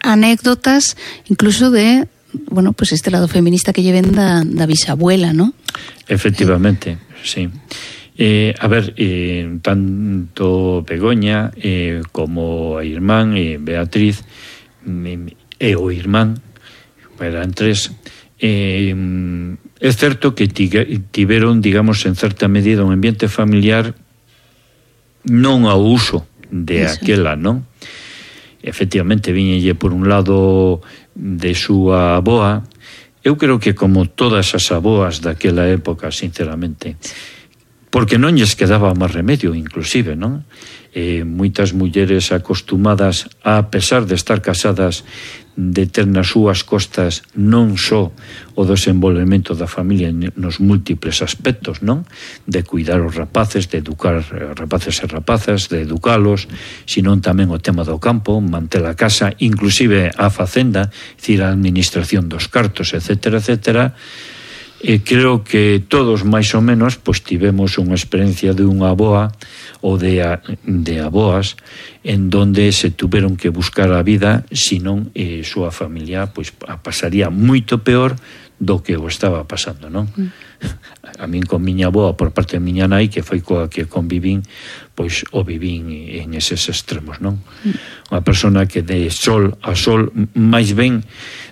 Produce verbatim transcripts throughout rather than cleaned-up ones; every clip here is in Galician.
anécdotas incluso de, bueno, pues este lado feminista que lleven da, da bisabuela, ¿no? Efectivamente, eh. sí. Eh, a ver, eh, tanto Begoña eh, como a irmán eh, Beatriz e eh, o irmán, eran tres, eh, é certo que tiveron, digamos, en certa medida un ambiente familiar non ao uso de Eso. aquela, non? Efectivamente, viñelle por un lado de súa aboa. Eu creo que como todas as aboas daquela época, sinceramente, porque non lles quedaba máis remedio, inclusive, non? Eh, moitas mulleres acostumadas, a pesar de estar casadas, de ter nas súas costas non só o desenvolvemento da familia nos múltiples aspectos, non? De cuidar os rapaces, de educar rapaces e rapazas, de educalos, senón tamén o tema do campo, manter a casa, inclusive a facenda, dicir, a administración dos cartos, etcétera, etcétera. E creo que todos máis ou menos pois tivemos unha experiencia de unha aboa ou de, a, de aboas en donde se tuveron que buscar a vida, senón eh, súa familia pois a pasaría moito peor do que o estaba pasando, non? Mm. A min con miña aboa por parte de miña nai, que foi coa que convivín, pois o vivín en eses extremos, non? Mm. Unha persona que de sol a sol, máis ben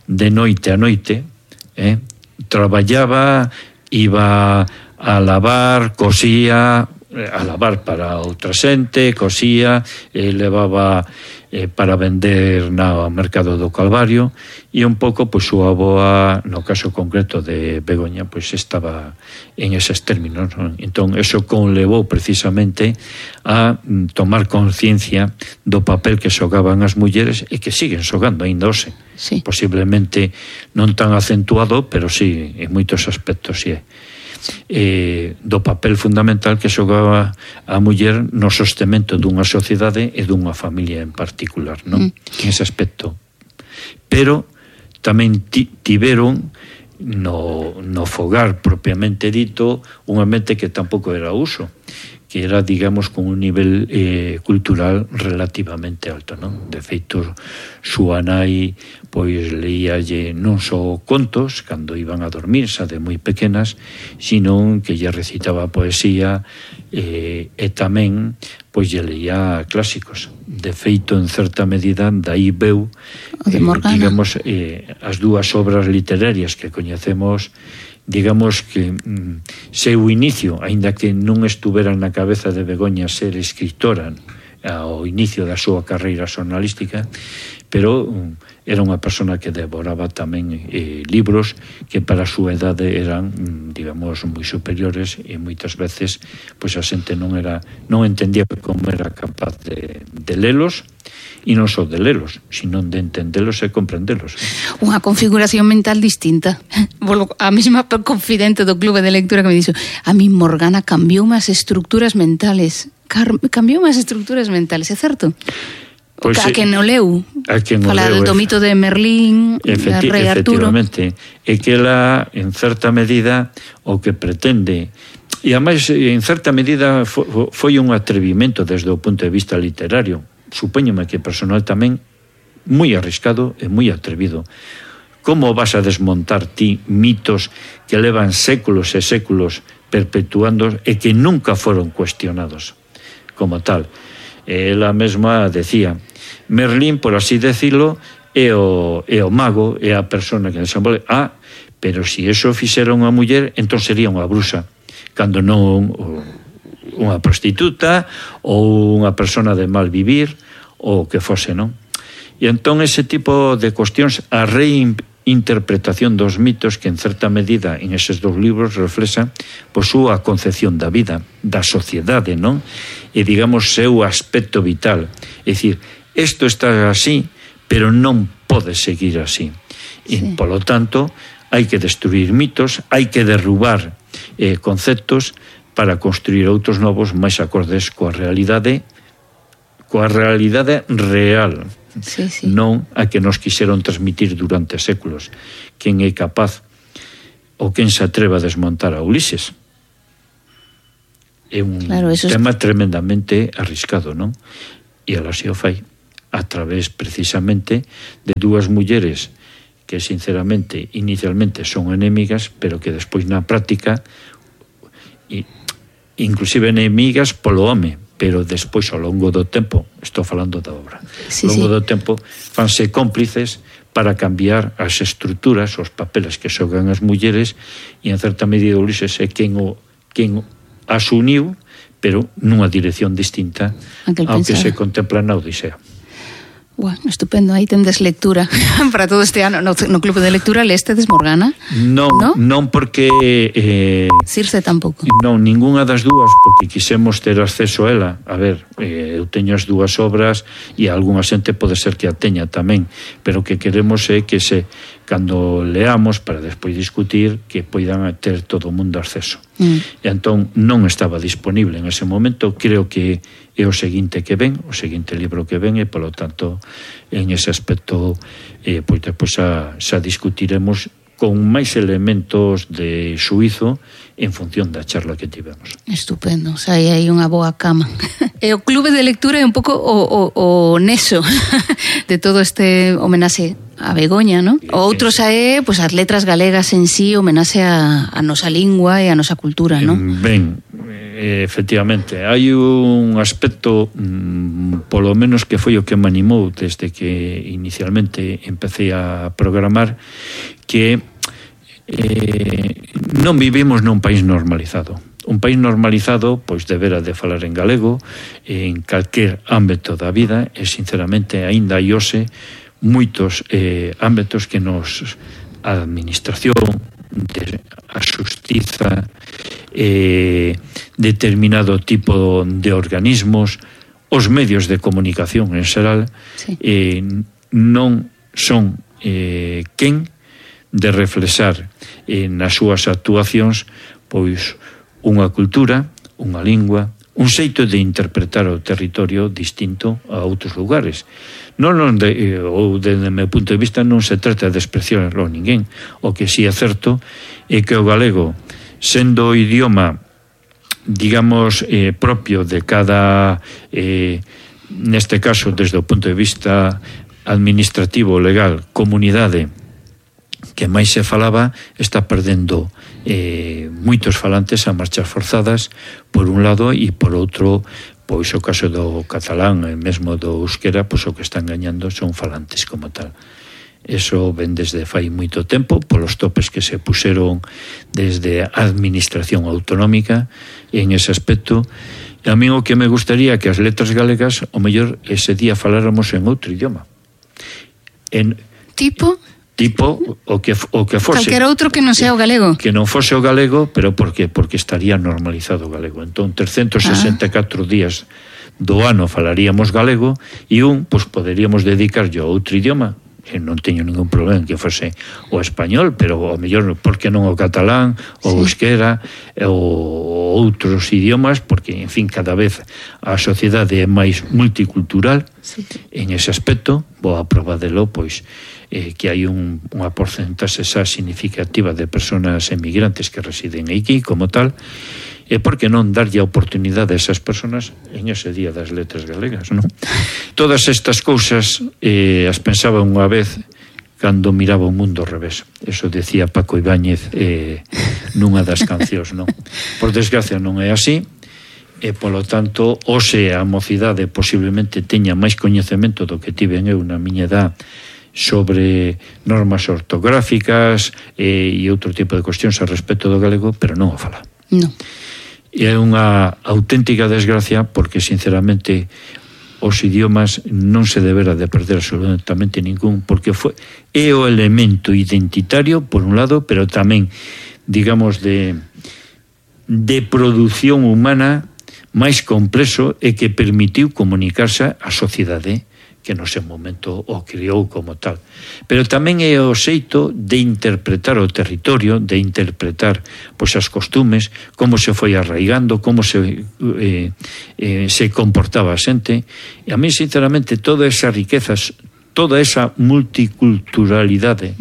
de noite a noite, eh? traballaba, iba a lavar, cosía, a lavar para outra xente, cosía, e levaba eh, para vender no mercado do Calvario, e un pouco, pois, súa aboa, no caso concreto de Begoña, pois estaba en eses términos, non? Entón, eso conlevou precisamente a tomar conciencia do papel que xogaban as mulleres e que siguen xogando aínda hoxe. Sí. Posiblemente non tan acentuado, pero sí, en moitos aspectos sí é. Eh, do papel fundamental que xogaba a muller no sostemento dunha sociedade e dunha familia en particular, non? Mm. En ese aspecto. Pero tamén tiveron no, no fogar propiamente dito un ambiente que tampouco era uso, que era, digamos, con un nivel eh, cultural relativamente alto, non? De feito, súa nai pois leíalle non só contos cando iban a dormir, xa de moi pequenas, sino que lle recitaba poesía eh, e tamén pois lle leía clásicos. De feito, en certa medida, dai veu eh, digamos, eh, as dúas obras literarias que coñecemos, digamos que mm, seu inicio, aínda que non estuvera na cabeza de Begoña ser escritora ao inicio da súa carreira xornalística, pero um, era unha persona que devoraba tamén eh, libros que para a súa idade eran, digamos, moi superiores, e moitas veces pois a xente non era non entendía como era capaz de, de lelos, e non só de lelos, sino de entendelos e comprendelos. Unha configuración mental distinta. A mesma confidente do clube de lectura que me dixo, a mí Morgana cambiou as estructuras mentales. Cambiou as estructuras mentales, é certo? Pois, a quen o leu, falar do tomito de Merlín, efecti Rei Arturo. Efectivamente, é que ela, en certa medida, o que pretende, e ademais, en certa medida, foi un atrevimento desde o punto de vista literario, supóñome que personal tamén, moi arriscado e moi atrevido. Como vas a desmontar ti mitos que levan séculos e séculos perpetuando e que nunca foron cuestionados como tal? Ela mesma decía, Merlín, por así decirlo, é o, é o mago, é a persona que desenvolve. Ah, pero se eso fixera unha muller, entón sería unha bruxa, cando non unha prostituta ou unha persona de mal vivir ou que fose, non? E entón ese tipo de cuestións, a reinterpretación dos mitos que en certa medida en eses dous libros reflexa pois súa concepción da vida, da sociedade, non? E digamos seu aspecto vital, é dicir, isto está así, pero non pode seguir así. E, sí. Polo tanto, hai que destruir mitos, hai que derrubar eh, conceptos para construir outros novos máis acordes coa realidade, coa realidade real, sí, sí. Non a que nos quixeron transmitir durante séculos. Quen é capaz ou quen se atreva a desmontar a Ulises? É un claro, tema es... tremendamente arriscado, non? E ela se o fai. a través precisamente de dúas mulleres que sinceramente inicialmente son enemigas, pero que despois na práctica inclusive enemigas polo home, pero despois ao longo do tempo, estou falando da obra, sí, ao longo sí. do tempo fanse cómplices para cambiar as estruturas, os papeles que xogan as mulleres, e en certa medida Ulises é quen o quen as uniu, pero nunha dirección distinta ao que se contempla na Odisea. Bueno, estupendo, aí tendes lectura para todo este ano no, no Clube de Lectura. Lestedes Morgana? Non, ¿no? non porque eh, Circe tampouco. Non, ningunha das dúas, porque quisemos ter acceso a ela. A ver, eh, eu teño as dúas obras e algunha xente pode ser que a teña tamén, pero o que queremos é que se cando leamos para despois discutir que poidan ter todo o mundo acceso. Mm. E entón non estaba disponible en ese momento. Creo que é o seguinte que ven, o seguinte libro que ven, e polo tanto en ese aspecto eh, pois depois xa, xa discutiremos con máis elementos de xuízo en función da charla que tivemos. Estupendo, o sea, hai unha boa cama. E o Clube de Lectura é un pouco o, o, o neso de todo este homenaxe a Begoña, ¿no? O outro xa é, pues, as letras galegas en sí, homenaxe a, a nosa lingua e a nosa cultura, ¿no? Ben, efectivamente, hai un aspecto mmm, polo menos que foi o que me animou desde que inicialmente empecé a programar, que eh, non vivimos nun país normalizado. Un país normalizado pois debera de falar en galego en calquer ámbito da vida, e sinceramente aínda hai hoxe moitos eh, ámbitos que nos a administración, de, a xustiza, eh, determinado tipo de organismos, os medios de comunicación en xeral, sí. eh, non son eh, quen de reflexar eh, nas súas actuacións pois unha cultura, unha lingua, un xeito de interpretar o territorio distinto a outros lugares. Non, non de, ou desde o meu punto de vista non se trata de despreciar a ninguén. O que si é certo é que o galego, sendo o idioma digamos eh, propio de cada eh, neste caso desde o punto de vista administrativo, legal, comunidade que máis se falaba, está perdendo eh, moitos falantes a marchas forzadas por un lado, e por outro pois o caso do catalán e mesmo do euskera, pois o que están gañando son falantes como tal. Eso ven desde fai moito tempo polos topes que se puseron desde a administración autonómica en ese aspecto. E a mí o que me gustaría que as letras galegas o mellor ese día faláramos en outro idioma, en tipo tipo o que o que fose calquera outro que non sea o galego, que non fose o galego, pero por que? Porque estaría normalizado o galego. Entón trescentos sesenta e catro ah. días do ano falaríamos galego, e un, pois poderíamos dedicarlle a outro idioma, e non teño ningún problema en que fose o español, pero o mellor, por que non o catalán, o sí. euskera, ou outros idiomas, porque, en fin, cada vez a sociedade é máis multicultural, sí. En ese aspecto, vou a proba delo, pois, eh, que hai un, unha porcentaxe xa significativa de persoas emigrantes que residen aquí, como tal, e por que non darlle a oportunidade a esas persoas en ese día das letras galegas, non? Todas estas cousas eh, as pensaba unha vez cando miraba o mundo ao revés. Eso decía Paco Ibáñez eh, nunha das cancións, non? Por desgracia non é así, e polo tanto, hoxe a mocidade posiblemente teña máis coñecemento do que tiven eu na miña edad sobre normas ortográficas e, e outro tipo de cuestións a respecto do galego, pero non o fala. Non. E é unha auténtica desgracia, porque sinceramente os idiomas non se debera de perder absolutamente ningún, porque foi, é o elemento identitario por un lado, pero tamén digamos de de produción humana máis complexo e que permitiu comunicarse á sociedade que no seu momento o criou como tal. Pero tamén é o xeito de interpretar o territorio, de interpretar pois as costumes, como se foi arraigando, como se eh, eh, se comportaba a xente. E a mí, sinceramente, toda esa riquezas, toda esa multiculturalidade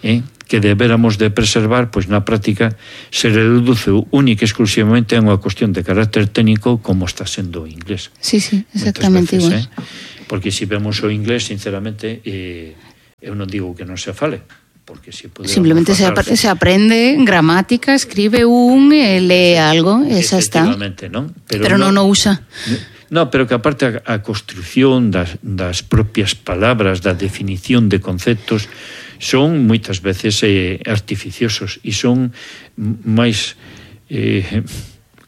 eh, que debéramos de preservar, pois na práctica se reduce única e exclusivamente a unha cuestión de carácter técnico, como está sendo o inglés. Sí, sí, exactamente igual. Eh? porque se vemos o inglés, sinceramente, eh, eu non digo que non se fale, porque si simplemente se, ap se aprende gramática, escribe un e lee algo, esa está. Efectivamente, non? Pero, pero non o usa. No, pero que aparte a, a construción das, das propias palabras, da definición de conceptos, son moitas veces eh, artificiosos e son máis, eh,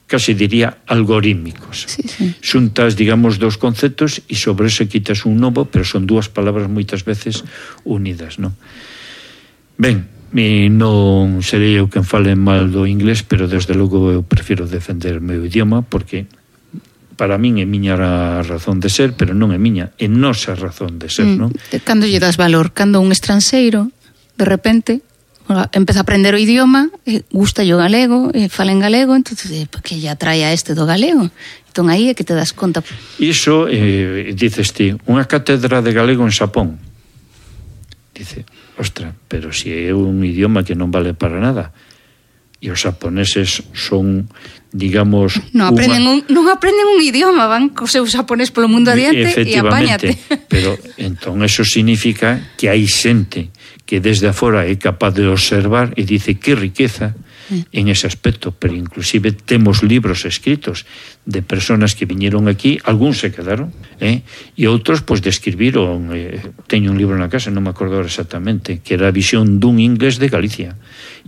casi diría, algorítmicos. Sí, sí. Xuntas, digamos, dos conceptos e sobre eso quitas un novo, pero son dúas palabras moitas veces unidas, non? Ben, e non serei eu quen fale mal do inglés, pero desde logo eu prefiro defender o meu idioma, porque para min é miña razón de ser, pero non é miña, é nosa razón de ser, mm, non? Cando lle das valor, cando un estranxeiro de repente empeza a aprender o idioma, gusta o galego, fala en galego, entonces, que lle atrae a este do galego? Entón aí é que te das conta. Iso, eh, dices ti, unha cátedra de galego en Xapón. Dice, ostra, pero si é un idioma que non vale para nada. E os xaponeses son, digamos... Non aprenden, unha... un, non aprenden un idioma, van co seu xaponés polo mundo adiante e apáñate. Pero entón eso significa que hai xente que desde afora é capaz de observar e dice que riqueza en ese aspecto, pero inclusive temos libros escritos de personas que viñeron aquí, algúns se quedaron, eh? E outros pois describiron, eh, teño un libro na casa, non me acordo exactamente, que era a visión dun inglés de Galicia,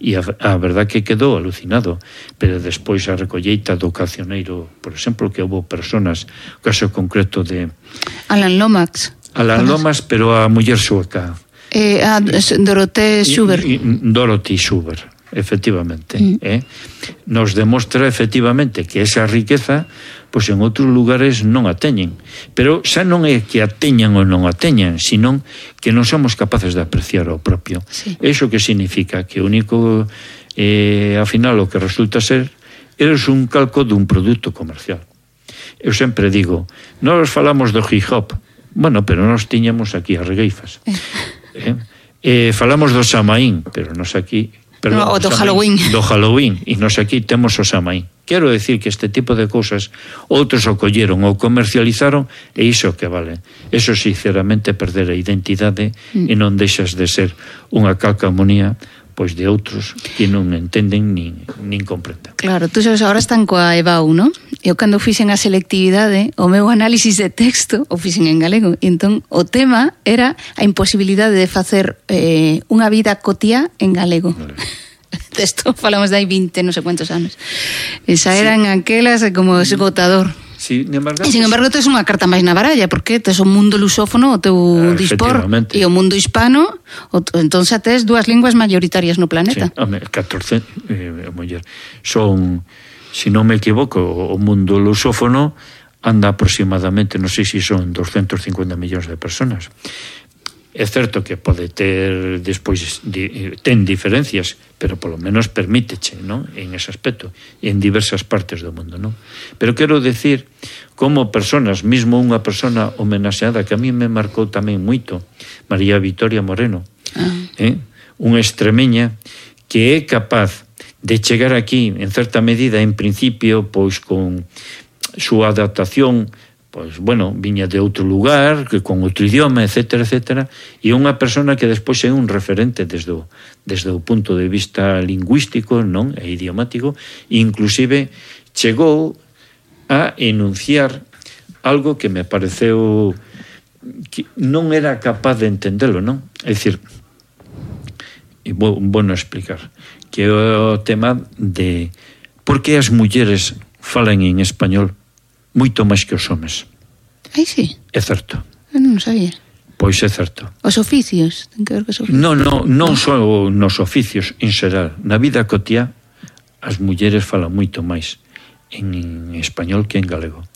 e a, a verdad que quedou alucinado, pero despois a recolleita do Cancioneiro, por exemplo, que houve personas, o caso concreto de Alan Lomax, Alan Lomax, pero a muller sueca, eh, a Dorothée Schubert, Dorothy Schubert, efectivamente, mm. eh? Nos demostra efectivamente que esa riqueza pois en outros lugares non a teñen, pero xa non é que a teñan ou non a teñan, sino que non somos capaces de apreciar o propio. Sí. Eso que significa que o único eh, ao final o que resulta ser eres un calco dun produto comercial. Eu sempre digo, nós falamos do hip hop, bueno, pero nós tiñamos aquí as regueifas, eh? Eh, falamos do Samaín, pero nós aquí Perdón, no, o do Halloween. Do Halloween, e nos aquí temos o Samaín. Quero decir que este tipo de cousas outros o colleron ou comercializaron e iso que vale. Eso sinceramente perder a identidade mm. e non deixas de ser unha calcamonía pois de outros que non entenden nin, nin comprenden. Claro, tú sabes, agora están coa EBAU, non? Eu cando fixen a selectividade, o meu análisis de texto o fixen en galego, e entón o tema era a imposibilidade de facer eh, unha vida cotiá en galego. Vale. Isto falamos de hai vinte, non sei cuántos anos. Esa sí. Eran aquelas como esgotador. Sí, embargo, e sin embargo tes unha carta máis na baralla, porque tes o mundo lusófono o teu ah, dispor e o mundo hispano, o, entón xa tes dúas linguas mayoritarias no planeta. Sí, home, catorce eh, muller. Son, se si non me equivoco, o mundo lusófono anda aproximadamente, non sei se son doscientos cincuenta millóns de personas. É certo que pode ter despois di, ten diferencias, pero polo menos permíteche, non? En ese aspecto, en diversas partes do mundo, non? Pero quero decir como personas, mesmo unha persona homenaxeada que a mí me marcou tamén moito, María Victoria Moreno, ah. eh? unha extremeña que é capaz de chegar aquí en certa medida, en principio, pois con súa adaptación, pois, bueno, viña de outro lugar, que con outro idioma, etcétera, etcétera, e unha persona que despois é un referente desde o, desde o punto de vista lingüístico, non, e idiomático, e inclusive chegou a enunciar algo que me pareceu que non era capaz de entendelo, non? É dicir, e vou, bueno explicar, que é o tema de por que as mulleres falan en español moito máis que os homes. Ai, sí. É certo. Eu non sabía. Pois é certo. Os oficios, ten que ver cos oficios. Non, non, non só nos oficios, en xeral. Na vida cotiá, as mulleres falan moito máis en español que en galego.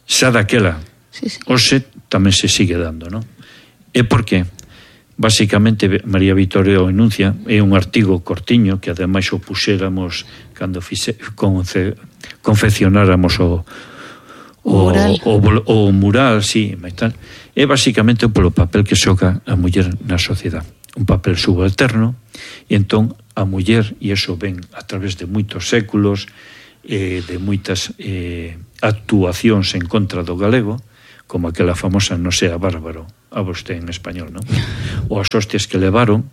Xa daquela, sí, sí. Hoxe tamén se sigue dando, non? E por qué? Basicamente, María Victoria o enuncia, é un artigo cortiño que ademais o puxéramos cando fixe, conce, confeccionáramos o O mural, o, o, o mural, sí, e tal, é basicamente polo papel que xoga a muller na sociedade, un papel subalterno, e entón a muller, e iso ven a través de moitos séculos, eh, de moitas eh, actuacións en contra do galego, como aquela famosa no sea bárbaro, a vosté en español, non? Ou as hostias que levaron.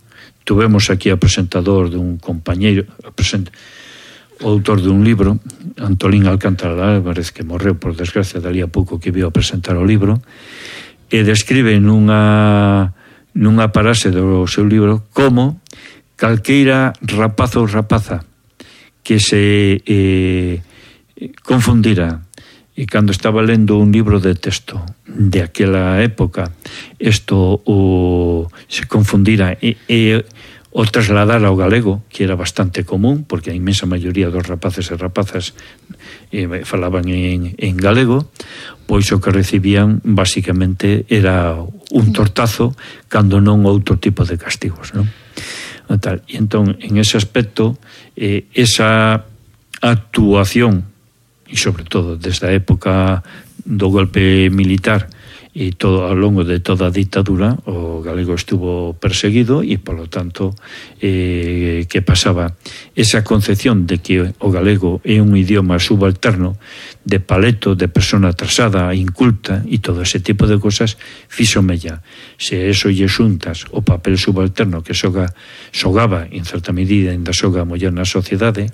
Tuvemos aquí a presentador dun compañeiro, present, o autor dun libro, Antolín Alcántara Álvarez, que morreu por desgracia dali a pouco que viu a presentar o libro, e describe nunha nunha parase do seu libro como calqueira rapazo ou rapaza que se eh, confundira e cando estaba lendo un libro de texto de aquela época isto o, se confundira e, e o trasladar ao galego, que era bastante común porque a inmensa maioría dos rapaces e rapazas eh, falaban en, en galego, pois o que recibían basicamente era un tortazo cando non outro tipo de castigos, non? E, tal. E entón, en ese aspecto eh, esa actuación e sobre todo desde a época do golpe militar e todo ao longo de toda a ditadura o galego estuvo perseguido e polo tanto eh, que pasaba esa concepción de que o galego é un idioma subalterno de paleto, de persona atrasada, inculta e todo ese tipo de cosas fixo mella. Se eso lle xuntas o papel subalterno que soga, xogaba en certa medida ainda xoga a moller na sociedade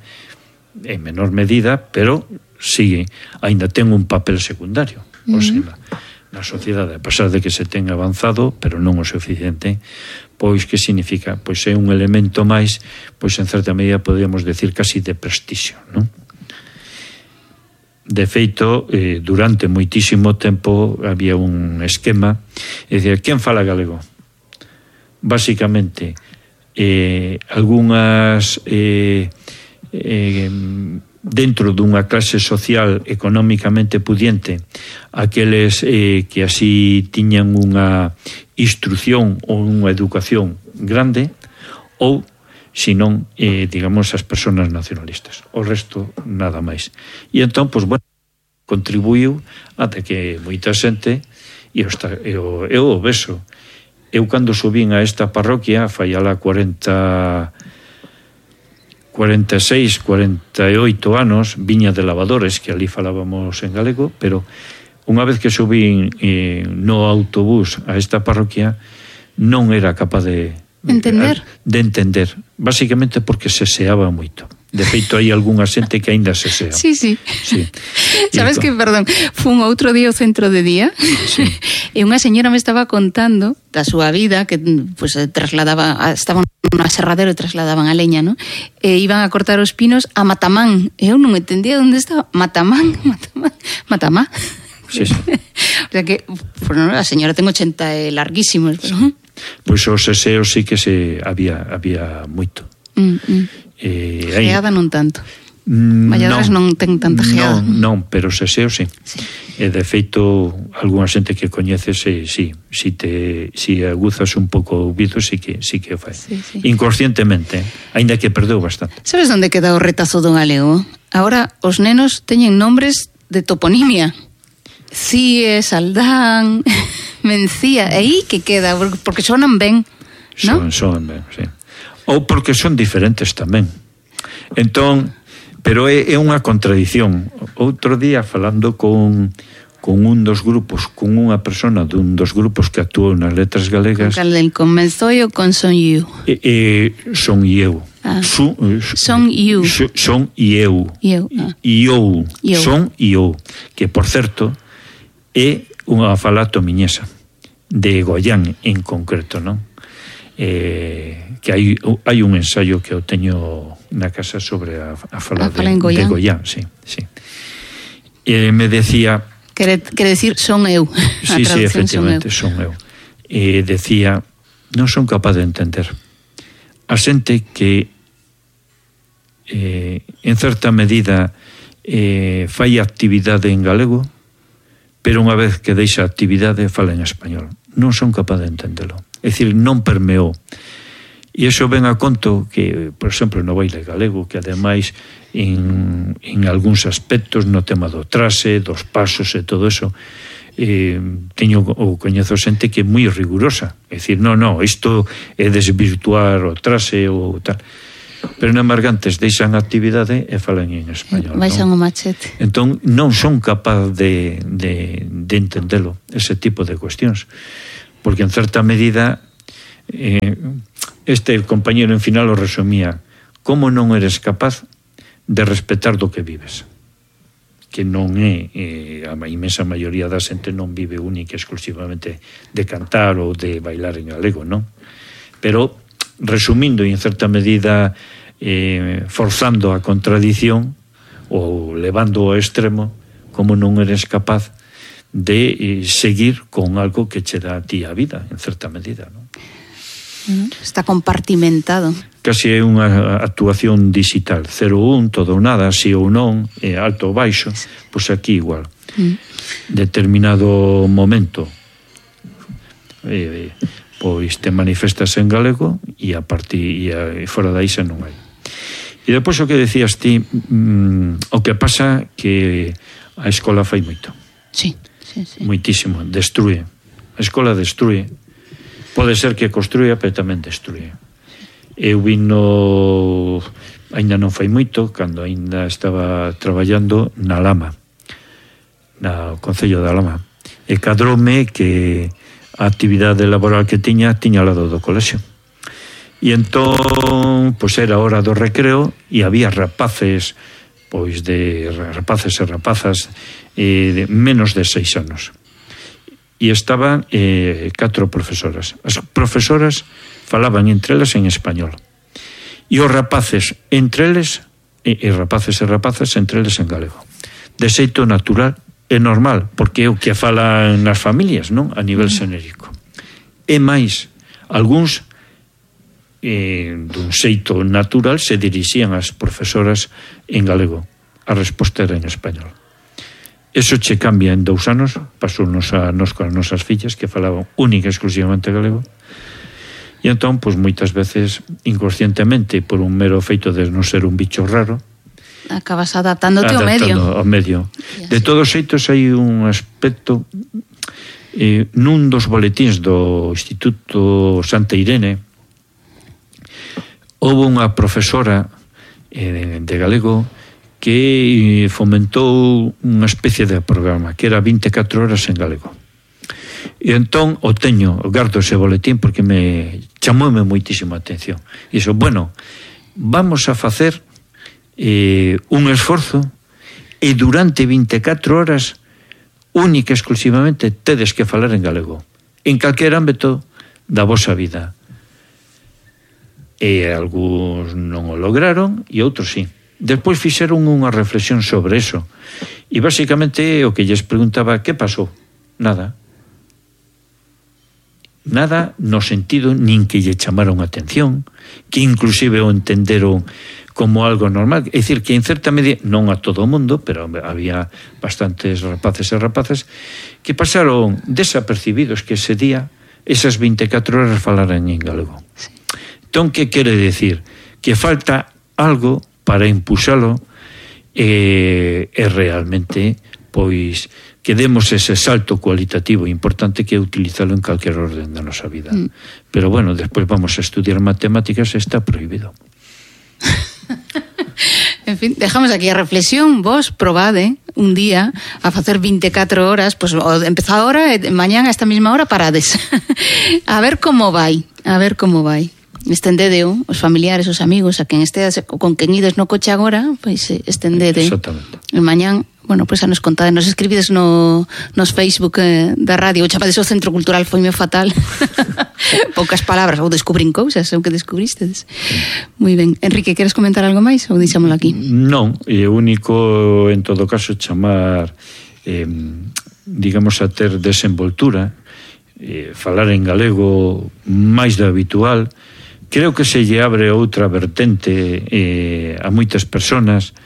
en menor medida, pero sigue, ainda ten un papel secundario, mm. o sea, na sociedade, a pesar de que se ten avanzado, pero non o suficiente, pois que significa? Pois é un elemento máis, pois en certa medida podríamos decir casi de prestixio, non? De feito, eh, durante moitísimo tempo había un esquema, é dicir, quen fala galego? Básicamente, eh, algunhas eh, eh, dentro dunha clase social económicamente pudiente, aqueles eh, que así tiñan unha instrucción ou unha educación grande, ou senón, eh, digamos, as persoas nacionalistas. O resto, nada máis. E entón, pois, bueno, contribuiu ata que moita xente, e eu, eu o beso. Eu, cando subín a esta parroquia, fai alá cuarenta, cuarenta e seis, cuarenta e oito anos, viña de Lavadores, que ali falábamos en galego, pero unha vez que subín eh, no autobús a esta parroquia, non era capaz de entender, de entender, basicamente porque se seaba moito. De feito, hai algunha xente que aínda se sea. Sí, sí. Sí. Sabes que, perdón, fun outro día ao centro de día, sí. E unha señora me estaba contando da súa vida, que pues, trasladaba, estaban no aserradero e trasladaban a leña, ¿no? E iban a cortar os pinos a Matamán. E eu non entendía onde estaba. Matamán, Matamán, Matamá. Sí, sí. O sea que, bueno, a señora ten ochenta e larguísimos, pero... Sí. Pois os seseos sí que se había había moito. Mm, mm. Eh, geada non tanto. Valladares non, non ten tanta geada. Non, non, pero os seseos sí. Sí. E de feito, algunha xente que coñeces, sí, sí, si te si aguzas un pouco o ouvido, sí que sí que o fai. Sí, sí. Inconscientemente, aínda que perdeu bastante. Sabes onde queda o retazo do galego? Ahora os nenos teñen nombres de toponimia. Cie, Saldán, Mencía, e aí que queda, porque sonan ben, non? Son, son ben, sí. Ou porque son diferentes tamén. Entón, pero é, é unha contradición. Outro día, falando con, con un dos grupos, con unha persona dun dos grupos que actuou nas letras galegas... Con cal con Menzoi ou con Son You? E, e, son eu. Ah. Su, son you. Son e eu. Eu. Ah. E eu. Son e eu. Que, por certo, é unha fala tomiñesa. De Goián, en concreto, non? Eh, que hai, hai un ensayo que eu teño na casa sobre a, a fala, a fala de, Goián. de Goián, sí, sí. E me decía... Quere, quere decir son eu. Sí, sí, efectivamente, son eu. Son eu. E decía, non son capaz de entender a xente que eh, en certa medida eh, fai actividade en galego, pero unha vez que deixa a actividade fala en español. Non son capaz de entendelo. É dicir, non permeou. E iso ven a conto que, por exemplo, no baile galego, que ademais en, en algúns aspectos no tema do traxe, dos pasos e todo eso, eh, teño ou coñezo xente que é moi rigurosa. É dicir, non, non, isto é desvirtuar o traxe ou tal. pero na Margantes deixan a actividade e falan en español. Baixan non? o machete. Entón, non son capaz de, de, de entendelo, ese tipo de cuestións. Porque, en certa medida, eh, este compañero en final o resumía: como non eres capaz de respetar do que vives? Que non é, eh, a imensa maioría da xente non vive única exclusivamente de cantar ou de bailar en galego, non? Pero, resumindo e en certa medida eh, forzando a contradición ou levando ao extremo, como non eres capaz de eh, seguir con algo que che dá a ti a vida, en certa medida, non? Está compartimentado. Casi é unha actuación digital, cero un, todo ou nada, si ou non, eh, alto ou baixo, pois aquí igual. Mm. Determinado momento eh, pois te manifestas en galego e a partir e, a, e fora da isa non hai. E depois o que decías ti, mm, o que pasa que a escola fai moito. Sí, sí, sí. Moitísimo, destrue. A escola destrue. Pode ser que construía, pero tamén destrue. Eu vino, ainda non fai moito, cando ainda estaba traballando na Lama, no Concello da Lama, e cadroume que a actividade laboral que tiña tiña ao lado do colexio. E entón, pois era hora do recreo e había rapaces, pois de rapaces e rapazas eh, de menos de seis anos. E estaban eh, catro profesoras. As profesoras falaban entre elas en español. E os rapaces entre eles, e, e rapaces e rapazas entre eles en galego. De xeito natural é normal, porque é o que falan nas familias, non? A nivel xenérico. E máis, algúns eh, dun xeito natural se dirixían ás profesoras en galego. A resposta era en español. Eso che cambia en dous anos, pasounos a nos con as nosas fillas que falaban única e exclusivamente galego. E entón, pois moitas veces, inconscientemente, por un mero feito de non ser un bicho raro, acabas adaptándote ao medio. Ao medio. De todos xeitos, hai un aspecto eh, nun dos boletíns do Instituto Santa Irene houve unha profesora eh, de galego que fomentou unha especie de programa que era vinte e catro horas en galego. E entón o teño, o gardo ese boletín porque me chamoume moitísima atención. E iso, bueno, vamos a facer Eh, un esforzo e durante vinte e catro horas única e exclusivamente tedes que falar en galego en calquer ámbito da vosa vida. E algúns non o lograron e outros sí. Despois fixeron unha reflexión sobre eso e basicamente o que lles preguntaba: que pasou? Nada. Nada no sentido nin que lle chamaron atención, que inclusive o entenderon como algo normal. É dicir, que en certa medida, non a todo o mundo, pero había bastantes rapaces e rapazas que pasaron desapercibidos que ese día, esas vinte e catro horas falaran en galego. Sí. Entón, que quere decir? Que falta algo para impulsalo e, e realmente, pois, que demos ese salto cualitativo importante que é utilizalo en calquer orden da nosa vida. Mm. Pero bueno, despois vamos a estudiar matemáticas e está prohibido. En fin, dejamos aquí a reflexión. Vos probade un día a facer vinte e catro horas, pues empezá ahora e mañán a esta mesma hora parades. A ver como vai, a ver como vai. Estendedeo, os familiares, os amigos, a quen estedes con quen ides no coche agora, pois estendede. Exactamente. E mañán, bueno, pois a nos contade, nos escribides no, nos Facebook eh, da radio, o chamades o Centro Cultural Foime Fatal. Poucas palabras, ou descubrín cousas, ou que descubristedes. Moi ben. Enrique, queres comentar algo máis ou deixámolo aquí? Non, é único en todo caso chamar eh, digamos a ter desenvoltura, eh, falar en galego máis do habitual. Creo que se lle abre outra vertente eh, a moitas personas,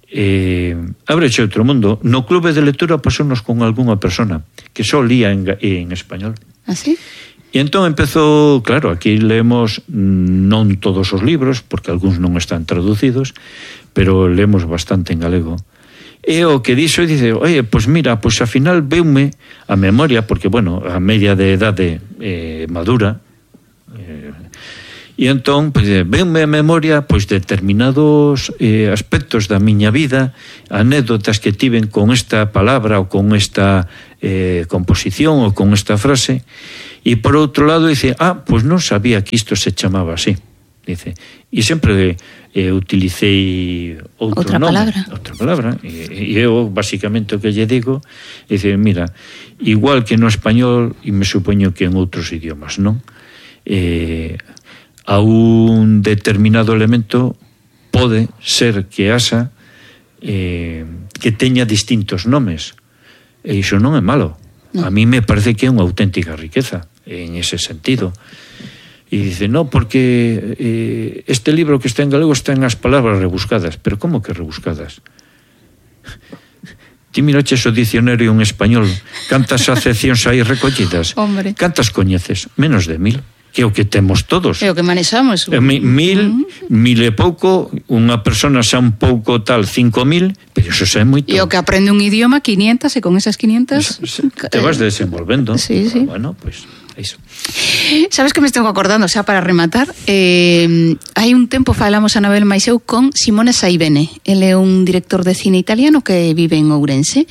eh, abreche outro mundo. No clube de lectura pasounos con algunha persona que só lía en, en español. ¿Ah, sí? E entón empezou, claro, aquí leemos non todos os libros, porque algúns non están traducidos, pero leemos bastante en galego. E o que dixo, dice, oye, pois mira, pois ao final veume a memoria, porque, bueno, a media de edade eh, madura, eh, E entón, pois, venme a memoria pois determinados eh, aspectos da miña vida, anécdotas que tiven con esta palabra ou con esta eh, composición ou con esta frase, e por outro lado dice, ah, pois non sabía que isto se chamaba así. Dice, e sempre eh, utilicei outro outra nome, palabra. outra palabra, e, e eu basicamente o que lle digo, dice, mira, igual que no español, e me supoño que en outros idiomas, non? Eh, a un determinado elemento pode ser que haxa eh, que teña distintos nomes, e iso non é malo. No. A mí me parece que é unha auténtica riqueza en ese sentido. E dice, no, porque eh, este libro que está en galego está en as palabras rebuscadas. Pero como que rebuscadas? Ti miraches o dicionario en español, cantas acepcións aí recollidas? Hombre. Cantas coñeces? Menos de mil. Que é o que temos todos. É o que manexamos. Eh, mil, uh-huh. mil e pouco, unha persona xa un pouco tal, cinco mil, pero iso xa é moito. E o que aprende un idioma, quinientas, e con esas quinientas... Te vas desenvolvendo. Sí, sí. Bueno, pois... Pues, iso. Sabes que me estou acordando, xa para rematar, eh, hai un tempo falamos a Anabel mais eu con Simone Saibene. Ele é un director de cine italiano que vive en Ourense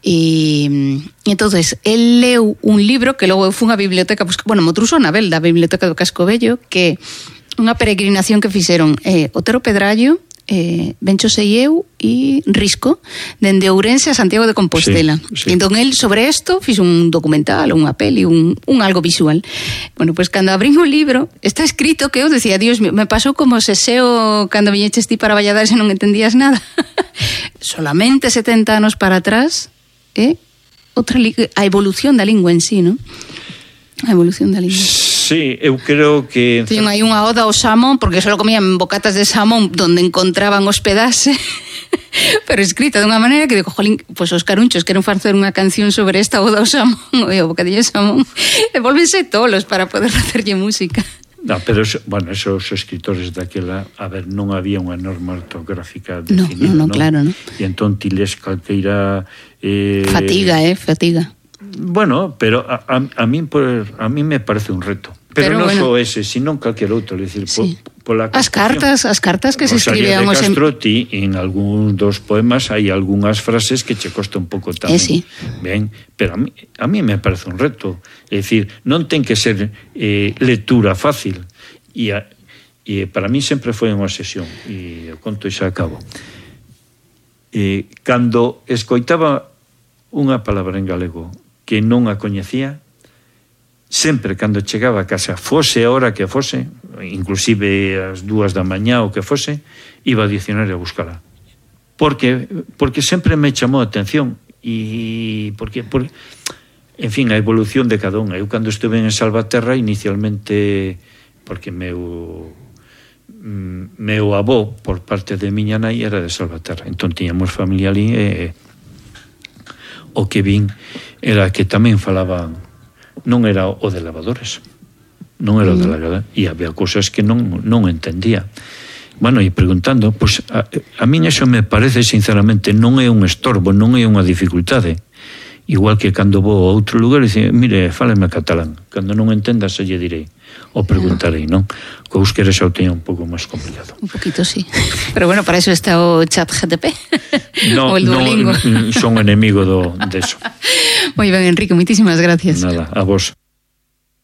e entonces el leu un libro que logo eu fui a biblioteca, pues, bueno, mo trouxo Anabel da Biblioteca do Casco Vello, que unha peregrinación que fixeron eh, Otero Pedrallo, eh, Bencho Seieu e Risco, dende Ourense a Santiago de Compostela. Sí, sí. Entón, el sobre isto fixe un documental, unha peli, un, un algo visual. Bueno, pois pues, cando abrín o libro, está escrito que eu decía, Dios mío, me pasou como se seo cando viñeches ti para Valladares e non entendías nada. Solamente setenta anos para atrás, eh? Outra li- a evolución da lingua en sí, non? A evolución da lingua. Sí, eu creo que... Teñen aí unha oda ao xamón, porque só comían bocatas de xamón donde encontraban hospedarse, pero escrita de unha maneira que digo, jolín, pois os carunchos queren facer unha canción sobre esta oda ao xamón, e o bocadillo de xamón, e volvense tolos para poder facerlle música. No, pero, eso, bueno, esos escritores daquela, a ver, non había unha norma ortográfica definida, no, no, no, claro, no. E entón ti les calqueira... Eh... Fatiga, eh, fatiga. Bueno, pero a, a, a, mí, a mí me parece un reto. Pero, pero non bueno, só ese, sino calquer outro, é dicir, sí. po, pola as cartas, as cartas que se escribían os de Castro, en... ti, en algún dos poemas hai algunhas frases que che costa un pouco tamén. Eh, sí. Ben, pero a mí, a mí me parece un reto, é dicir, non ten que ser eh, lectura fácil. E, a, e para mí sempre foi unha obsesión, e o conto xa acabo. E cando escoitaba unha palabra en galego que non a coñecía, sempre cando chegaba a casa, fose a hora que fose, inclusive as dúas da mañá ou que fose, iba ao dicionario a buscala. Porque, porque sempre me chamou a atención e porque, porque en fin, a evolución de cada unha. Eu cando estuve en Salvaterra inicialmente, porque meu meu avó por parte de miña nai era de Salvaterra, entón tiñamos familia ali e o que vin era que tamén falaban, non era o de lavadores, non era o de lavadores, e había cousas que non, non entendía. Bueno, e preguntando, pois a, a mí eso me parece sinceramente non é un estorbo, non é unha dificultade. Igual que cando vou a outro lugar e dice, mire, fáleme catalán, cando non entenda se lle direi ou preguntarei, non? Co euskera xa o teña un pouco máis complicado. Un poquito, sí. Pero bueno, para eso está o chat G T P. No, o el Duolingo. No, son enemigo do, de eso. Moi ben, Enrique, moitísimas gracias. Nada, a vos.